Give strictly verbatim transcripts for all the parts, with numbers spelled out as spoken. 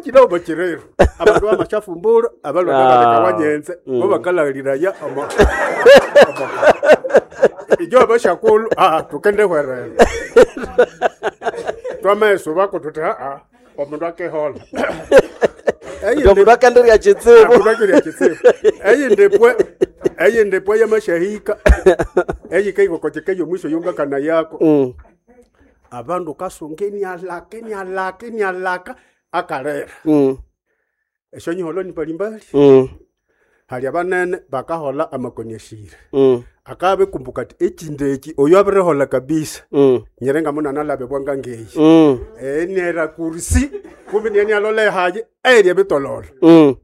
Ekina omo kirero abandu bamasyafumbura abalwana Ah. baleka wanyenze Mm. bo bakalahiraya omo omo- ijo abashakulhu ah tukendehwerera twamesubako tuthi aa omundu akehola Ndio mundu akandirya kitsibu. Omundu akirya kitsibu eyindi pwe eyindi pwe yamashahika eyikaikokoteka eyomwisho yongakana yako Mm. abandu kasunga enialaka enialaka enialaka akalera Mm. esyonyiholo ni mbalimbali Mm. hali abanene bakahola amakoni ashire Mm. akabekumbuka ati ekindi eki oyo abirihola kabisa Mm. nyere ngamunanalabe bwanga ngeyi Mm. enera kursi kumbi nienialola ehaye erya bitololo Mm.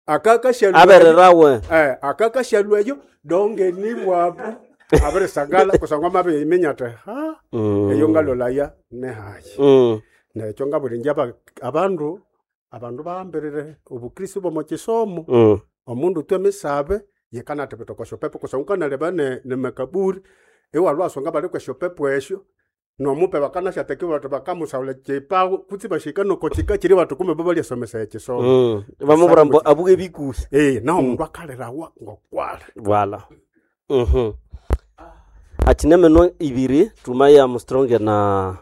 akakashalwa Abererawe. eh akakashalweyo donge ni bwabu abirisangala kusangwa mabiminya ati ha Mm. eyo ngalolaya nehaye Mm. nekyo ngabulinja aba- abandu abandu bahambirire obukristo bwomo kisomo Mm. omundu twe misabe yekanatibita okwa syopepo kusangwa ukanaleba ne, ne makaburi iwalwasonga bali kwe syopepo esyo nomupe bakanasyatekiwa bati bakamusaula kipawo kutsi bashika noko kika kiri bati kumbe bo balyasomesa ekisomo Mm. Bamubwira mbu abuke bikuhi. eh naho omundu akalirawa ngokwala Voilà. Mhm. Achine meno ibiri tumaya mustronge na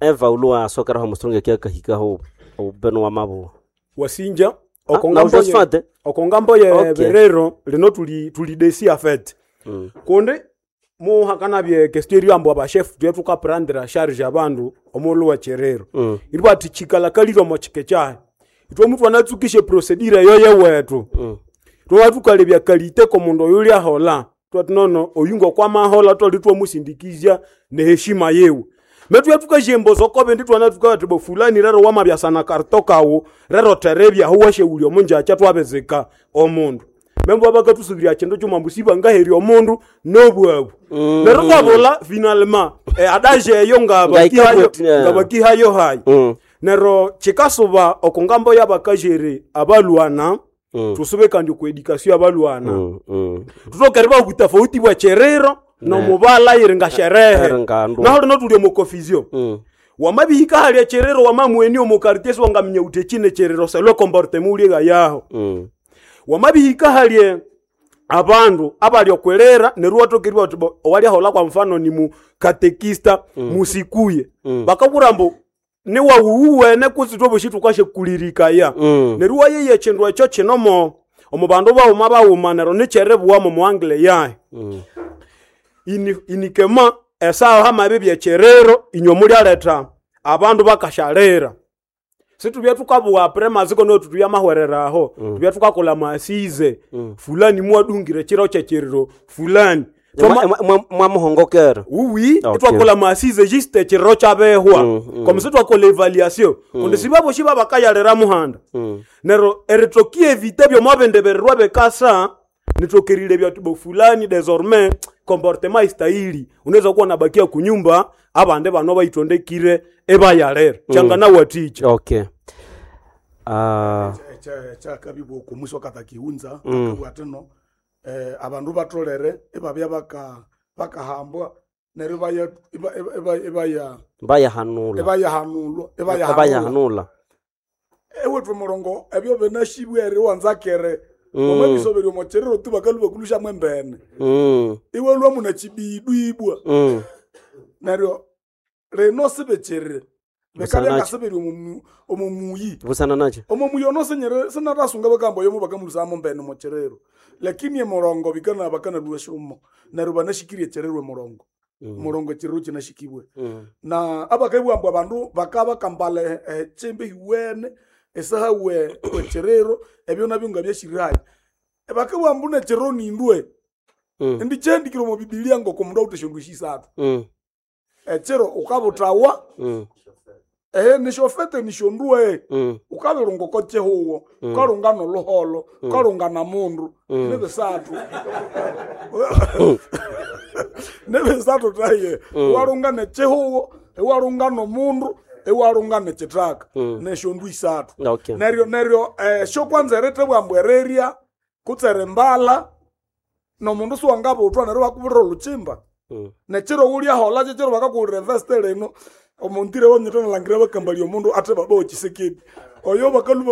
Eva ulwa sokera ho mustronge kya kahikaho obeno wa mabo. Wasinja Ah, na okongambo ye Josephat. okongambo ye Okay. berero lino tuli tuli desi afet Mm. kundi muhakanabye question eri ambu abachef twe tukaprandira charge abandu omulu wa cherero Mm. iri bati chikalakalire omo chike kyahe itwe omutu anatsukishe procedure eyo yewetu Mm. twaba tukalebya kalite komundu oyu lyahola twati nono oyu ngokwamahola twali twamusindikizya neheshima yewe methuya tukashemboza okobe ndi twana tukati bo fulani rero wamabyasana karto kawu rero terebyaho washewulya omunjakya twabezeka omundu membo bakatusubirya kindu kyuma mbu sibangaherya omundu nobwabu Mm. neryo twabula finalement eh, adaje eyo ngabakihayo Ngaikabweti, eh. ngabakihayo hayi Mm. neryo kikasuba okungambo y'abakajere abalwana Mm. tusube kandi ku education y'abalwana Mm. Mm. tutokere babutafauti bwa cherero nomubala iri nga sherehe Eri nga ndu. naho lino tuli omu confusion Mm. wamabihika halya cherero wamamweni omu quartier siwangaminya uti echine cherero selwe comportement uliega yaho Mm. wamabihika halye abandu abali okwelera neryo watokerwa uti bo owalyahola kwa mfano ni mukatekista mm. musikuye mm. bakabura mbu niwawuwene kutsi twoboshi tukashekulirikaya Mm. neryo wayeye ekindu ekyo kinomo omu bandu baghuma baghuma neryo nikyerebuwamo muangle yahe Mm. ini, inikema esaha hamabi byekyerero inywe mulyaletha abandu bakashalira situbya tukabuwa premaziko no tutubya mahwereraho mm. tubya tukakola masize mm. fulani mwadungire chiro kyekiriro fulani Twama- Mwamuhongokera. uwi Okay. twakola masize juste ekiriro kyabehwa Mm, mm. komisi twakola evaluation kundi sibaboshi babakayalira muhanda Mm. neryo eritokia evite byomwabendebererwa bekasa nitokerile byati bo fulani désormais comportement istahili unaweza kuwa nabakia kunyumba abande bano baitondekire ebayalera mm. changana waticha Okay. Ah. kyakabibwa okumusi katakiunza akabwa atino eh, abandu batolere ibabya baka bakahambwa neryo ibaya- iba- iba- iba- ibaya Bayahanula. ibayahanulwa ibayahanula Bayahanula. ewethu murongo ebyo binashibwa eri wanzakere Mm. omwebisoberya omokyerero tu bakalu bakulushamu embene Mm. iwe lwamu nachibidu ibwa Mm. neryo lino sibekyerere Busana bekabya nacho. ngasiberya omu- omomuyi Busana nacho. omomuyi ono senyere sinatasunga bakamba oyomo bakamulusamo mbene mokyerero lakini emurongo bikana bakanalua shumo neryo banashikirie ekyerero emurongo Mm. murongo ekyerero kinashikibwe Mm. na abakaibwambwa abandu bakabakambala echimbi hiwene esaha we wecherero ebyo nabyo nga byashirayo bakabwambu necherero nindwe Mm. indi chendikire omu bibilia ngoko mundu awuthe shindu shisathu Mm. echero ukabuthawa Mm. ehe nishofete nishondue Mm. ukabirunga oko chihuwo ukalunga noluholo ukalunga na mundu nibisathu nibisathu taye iwalunga nechihuwo iwalunga nomundu iwalunga nechithaka neshondu isathu Okay. neryo neryo eh, shokwanza eritebwa ereria kutse erimbala nomundu siwangabuthwa neryo bakubirira oluchimba Mm. nechiro wulyahola chechiro bakakuwulira eveste lino omuntire wonyitanalangira bakambalya omundu ate baba wechisekedi oyo bakaluba